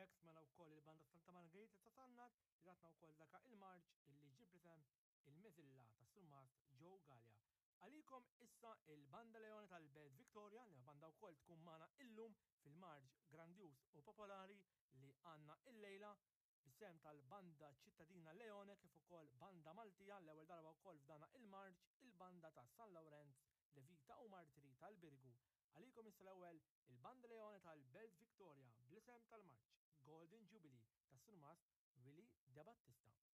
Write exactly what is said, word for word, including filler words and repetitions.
B'hekk smajna wkoll il-Banda Santa Margherita ta' Sannat li tatna wkoll daka il-marċ illi ġie bl-isem il-Meżilla tas-Surmast Joe Galea. Għalikom issa il-Banda Leone tal-Belt Victoria li banda wkoll tkun magħna illum fil-marċ grandjuż u popolari li għandna illejla bis-sehem tal-Banda Ċittadina Leone kif ukoll Banda Maltija l-ewwel darba wkoll f'dana il-marċ il-Banda ta' San Lawrenz Levita u Martiri tal-Birgu. Għalikom issa l-ewwel il-Banda Leone tal-Belt Victoria bl-isem tal-marċ Golden Jubilee tas-Surmast Willie De Battista.